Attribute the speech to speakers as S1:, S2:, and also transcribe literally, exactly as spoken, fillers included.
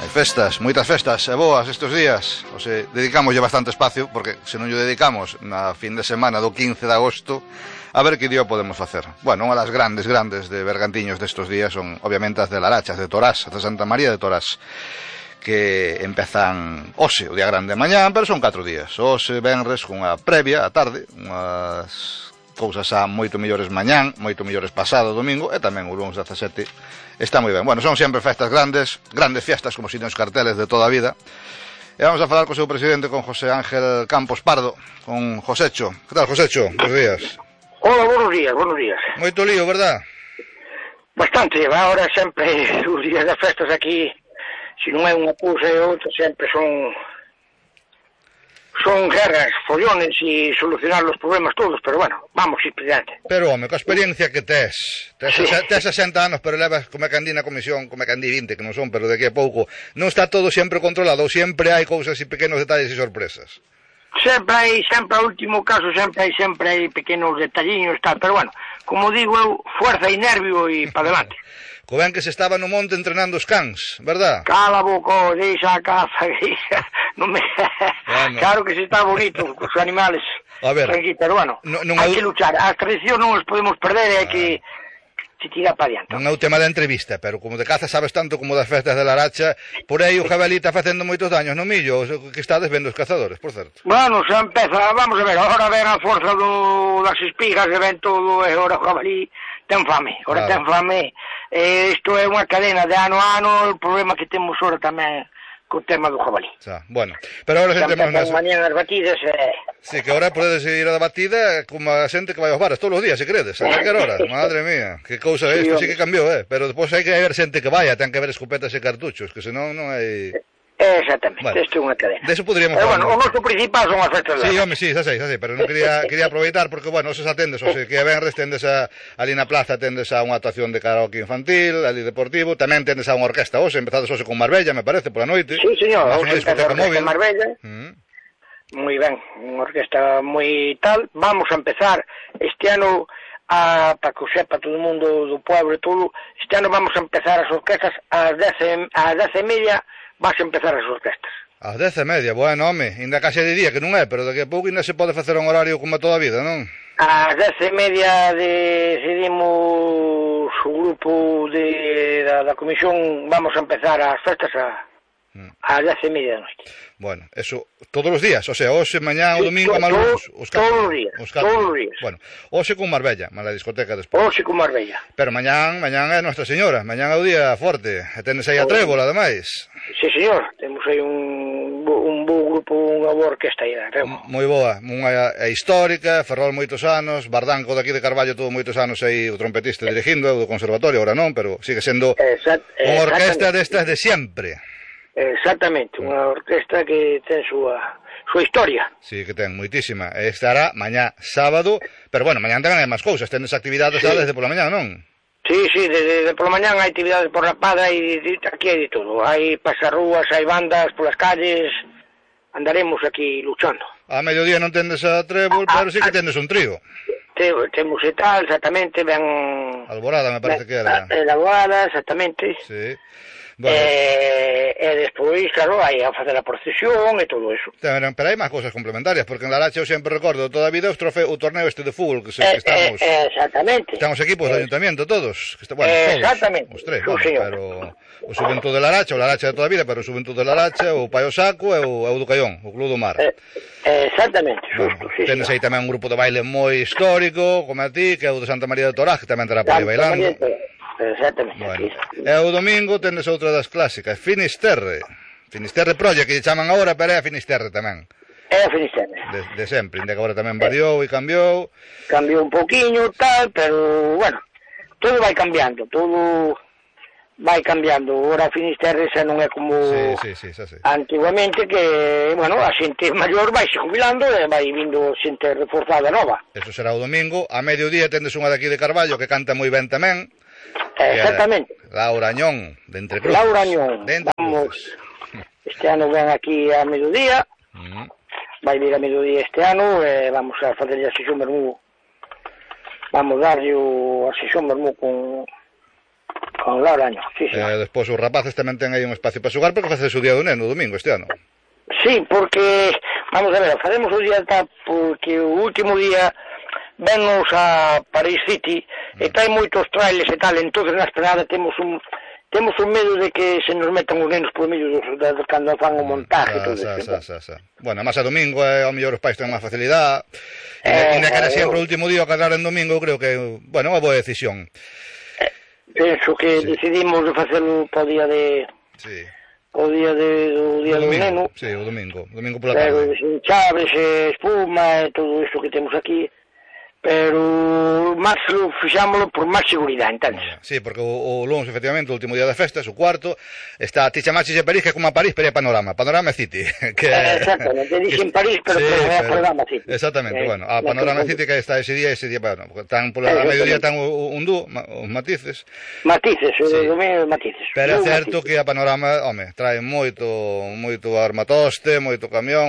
S1: Festas, moitas festas e boas estes días. O se dedicamos bastante espacio, porque se non lle dedicamos na fin de semana do quince de agosto, a ver que día podemos facer. Bueno, unha das grandes, grandes de Bergantiños destes días son, obviamente, as de Larachas, de Torás, as de Santa María de Torás, que empezan hoxe, o día grande de mañá, pero son catro días. Hoxe, venres, cunha previa, a tarde, unhas cousas a moito mellores mañán, moito mellores pasado domingo, e tamén o lunes dezasete. Está moi ben. Bueno, son sempre festas grandes, grandes fiestas, como si nos carteles de toda a vida. E vamos a falar co seu presidente, con José Ángel Campos Pardo, con Josecho. Que tal, Josecho? Buenos días.
S2: Hola, buenos días, buenos días.
S1: Moito lío, verdad?
S2: Bastante, ahora sempre os días das festas aquí, se non é unha cousa e outra, sempre son son guerras, follones e solucionar os problemas todos, pero bueno, vamos ir adiante.
S1: Pero, home, coa experiencia que tes, tes, sí. tes sesenta anos, pero levas como a candí na comisión, como a candí vinte, que non son, pero de aquí a pouco, non está todo sempre controlado, sempre hai cousas e pequenos detalles e sorpresas.
S2: Sempre hai, sempre ao último caso, sempre hai, sempre hai pequenos detalliños, tal, pero bueno, como digo eu, fuerza e nervio e para adelante.
S1: Co ben que se estaba no monte entrenando os cans, verdad?
S2: Cala a boca, deixa a caza, deixa, non me... Bueno. Claro que se está bonito, os animales,
S1: a ver,
S2: tranquilo, pero bueno, no, non hai que luchar, as tradicións non os podemos perder, hai ah. que se tirar para adiante.
S1: Non é o tema da entrevista, pero como de caza sabes tanto como das festas de Laracha, por aí o jabalí está facendo moitos daños no millo, que estades vendo os cazadores, por certo.
S2: Bueno, xa empeza, vamos a ver, agora ven a forza do, das espigas, e ven todo, e agora o jabalí ten fame, agora claro. ten fame, e isto é unha cadena de ano a ano, o problema que temos agora tamén co tema do jabalí.
S1: Xa, bueno, pero agora xa temos
S2: nas... mañan as batidas e... Eh...
S1: Sí, que agora podedes ir a da batida como a xente que vai aos bares todos os días, se credes, a calquer hora, madre mía, que cousa é, sí, isto sí que cambiou, eh, pero depois hai que haber xente que vaya, ten que haber escopetas e cartuchos, que senón non hai...
S2: Exactamente, bueno, isto é unha cadena.
S1: De eso poderíamos
S2: falar. Pero bueno, o noso principal son as festas.
S1: Sí, home, sí, xa sei, xa sei, pero non quería quería aproveitar porque, bueno, esos atendes, o sea, que venres tendes a, ali na plaza tendes a unha actuación de karaoke infantil, ali deportivo, tamén tendes a unha orquesta hoxe, empezades hoxe con Marbella, me parece, pola noite.
S2: Sí, señor, hoxe empezamos con Marbella. Mm. Moi ben, unha orquesta moi tal. Vamos a empezar este ano, a, para que o sepa todo o mundo do pueblo e todo, este ano vamos a empezar as orquestas ás dez e media. Vas a empezar as orquestas.
S1: Ás dez e media, bueno, home, ainda case de día, que non é, pero daqui a pouco ainda se pode facer un horario como toda a vida, non?
S2: Ás dez e media decidimos o grupo de, da, da comisión, vamos a empezar as festas a, mm. ás dez e media da noite.
S1: Bueno, eso, todos os días, o sea, hoxe, mañá, sí, o domingo,
S2: malucos, os catro. Todos os días, os todos os días.
S1: Bueno, hoxe con Marbella, má la discoteca despois.
S2: Hoxe con Marbella.
S1: Pero mañán, mañán é Nuestra Señora, mañán é o día forte, e tenes aí a Trébola, ademais.
S2: Sí, señor, temos aí un, un bo grupo, unha boa orquesta aí da Trébola.
S1: Moi boa, unha é histórica, Ferrol moitos anos, Bardanco daqui de Carballo todo moitos anos aí o trompetista dirigindo, do conservatorio, ahora non, pero sigue sendo
S2: Exact,
S1: unha orquesta destas de sempre.
S2: Exactamente, unha orquesta que ten súa súa historia.
S1: Sí, que ten moitísima. Estará mañá sábado, pero bueno, mañá tamén hai máis cousas, tenes actividades sí. desde pola mañá, non?
S2: Sí, sí, desde de pola mañá hai actividades por la Pada e aquí hai de todo. Hai pasarrúas, hai bandas polas calles, andaremos aquí luchando.
S1: A mediodía non tendes a Trébol, ah, pero sí que tendes un trío.
S2: Te, temos e tal, exactamente, ben...
S1: Alborada, me parece ben, que era.
S2: Alborada, exactamente.
S1: Sí.
S2: Bueno. E, e despois, claro, hai a facer a procesión e todo eso.
S1: Pero, pero hai máis cousas complementarias, porque en Laracha eu sempre recordo toda a vida os trofe, o torneo este de fútbol que, se, que estamos...
S2: Eh, exactamente.
S1: Estamos equipos eh, do ayuntamiento, todos. Que está, bueno,
S2: eh,
S1: todos,
S2: exactamente.
S1: Os tres,
S2: sí,
S1: bueno, pero o Xuventud de Laracha, o Laracha de toda a vida, pero o Xuventud de Laracha, o Paio Saco e o, e o do Caión, o Club do Mar.
S2: Eh, exactamente,
S1: bueno,
S2: justo, sí.
S1: Tenes aí tamén un grupo de baile moi histórico, como a ti, que é o de Santa María de Torás, que tamén terá por aí bailando.
S2: Exactamente.
S1: Bueno, e o domingo tendes outra das clásicas, Finisterre. Finisterre Prolla, que lle chaman agora, pero é a Finisterre tamén.
S2: É a Finisterre.
S1: De, de sempre, ainda que agora tamén variou e cambiou.
S2: Cambiou un pouquiño, tal, pero, bueno, todo vai cambiando, todo vai cambiando. Agora a Finisterre xa non é como
S1: sí, sí, sí, xa sei.
S2: Antiguamente, que, bueno, a xente maior vai se jubilando e vai vindo xente reforzada nova.
S1: Eso será o domingo. A mediodía tendes unha daqui de Carballo que canta moi ben tamén.
S2: Exactamente.
S1: Laura Añón, de Entre Cruces.
S2: Laura Añón, vamos, este ano ven aquí a mediodía, uh-huh. vai vir a mediodía este ano, e vamos a facerlle a sesión vermú, vamos darlle a sesión vermú con, Con Laura Año, sí, sí.
S1: Eh, despois os rapaces tamén ten aí un espacio para xogar, porque facedes o día do neno, o domingo, este ano.
S2: Sí, porque, vamos a ver, faremos o día tal, porque o último día vennos a Paris City mm. e trae moitos trailers e tal, entonces na esplanada temos un temos un medo de que se nos metan os nenos por medio dos, de, de, cando fan o montaje e todo
S1: sa,
S2: eso.
S1: Sa, sa, sa. Bueno, máis a domingo, eh, ao mellor os pais ten máis facilidade, e eh, ainda que era sempre o último día o cadrar en domingo, creo que, bueno, unha boa decisión.
S2: Eh, penso que sí. decidimos de facelo para o día de... Sí. O día de, o día o do neno.
S1: Sí, o domingo, o domingo pola tarde.
S2: Pero sin chaves, espuma e todo isto que temos aquí. Pero máis lo fixámoslo por máis seguridade, entendes?
S1: Sí, porque o, o lunes, efectivamente, o último día de festas, o cuarto, está, ti chamaxes de París, que é como a París, pero é Panorama, Panorama City. Que,
S2: eh, exactamente, dixen París, pero, sí, pero é a Panorama City.
S1: Exactamente, eh, bueno, a Panorama City que está ese día, ese día, bueno, tan pola eh, mediodía tan o, un dú, os matices.
S2: Matices, sí. O domingo matices.
S1: Pero é certo matices. Que a Panorama, home, trae moito, moito armatoste, moito camión,